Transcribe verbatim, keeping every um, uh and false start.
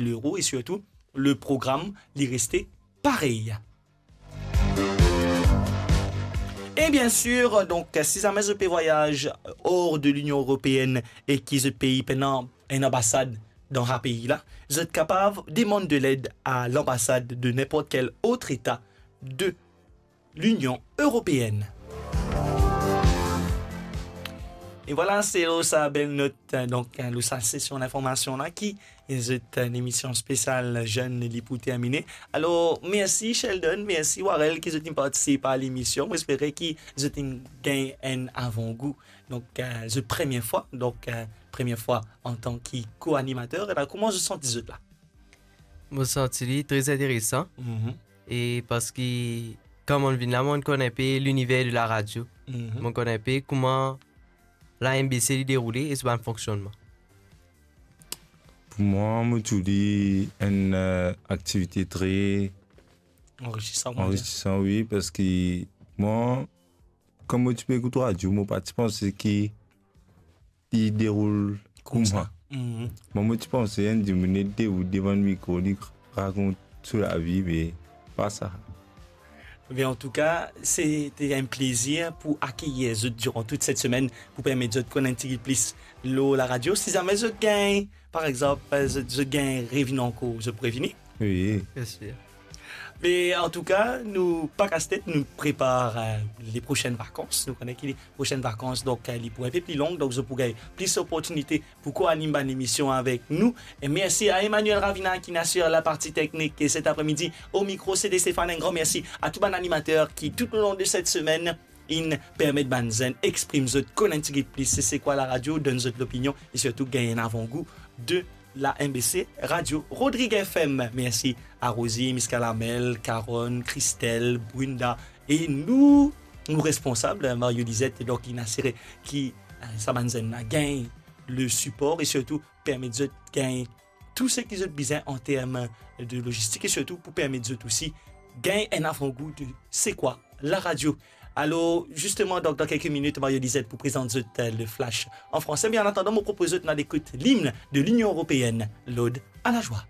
lero e sirtou le program li reste parey. E bien sir, donk, si zame zot pe vwayaz or de Linion Eropeenn e ki zot pei pena enn anbasad dan sa pei la, zot kapav demann de led a lanbasad de ninport kel ot eta de Linion Eropeenn. E vwala, se lor sa bel not, donk, lor sa sesion linformasion la ki zot, enn emision spesial Zenn li pou termine. Alor, mersi Sheldon, mersi Warel ki zot inn partisip a lemision. Mo espere ki zot inn gagn enn avangou. Donk, eh, zot premie fwa, donk, eh, premie fwa antan ki ko-animater. E la, kouma zot santi zot la? Mo santi li tre interesan. Mhm. E parski, kan mo'nn vinn la, mo'nn konn inpe liniver de laradio. Mhm. Mo'nn konn inpe kouma la M B C li deroule e so bann fonksionnman. Pou mwa, mo trouv li enn, eh, aktivite tre anrisisan, kouma dir. Anrisisan, wi, parski mwa, kan mo ti pe ekout radio, mo pa ti panse ki li deroul koumsa. Koumsa. Mhm. Mwa, mo ti panse enn dimoun ete ou devan mikro, li rakont so lavi, me pa sa. Be, antouka, se te enn plezir pou akeyir zot diran tout set semenn, pou permet zot konn enn tigit plis lor laradio. Si zame zot gagn, par exanp, zot, zot gagn revini ankor, zot pou revini? Wi. Bien sir. Me antouka, nou pa kas tet, nou prepar, eh, le prosenn vakans. Nou kone ki le prosenn vakans, donk, eh, li pou enpe pli long, donk zot pou gagn plis oportinite pou ko-anim bann emision avek nou. E mersi a Emmanuel Ravina ki inn asir laparti teknik, e set apremidi, o mikro, se te Stéphane. Enn gran mersi a tou bann animater ki, toulong de set semenn, inn permet bann zenn exprim zot, konn enn tigit plis se, se kwa laradio, donn zot lopinion e sirtou gagn enn avangou de la M B C Radio Rodrigues F M. Mersi a Rosie, Miska Lamel, Caron, Christelle, Brunda e nou, nou responsab, Mario Lizette, donk, inn asire ki, eh, sa bann zenn la gagn le sipor e sirtou permet zot gagn tou seki zot bizin an term de lozistik e sirtou pou permet zot osi gagn enn avangou de se kwa laradio. Alor, zisteman, donk, dan kelke minit, Mario Lizette pou prezant zot, eh, le flash an franse. Me an atandan, mo propoz zot nou al ekout limn de Linion Eropeenn, L'Ode à la joie.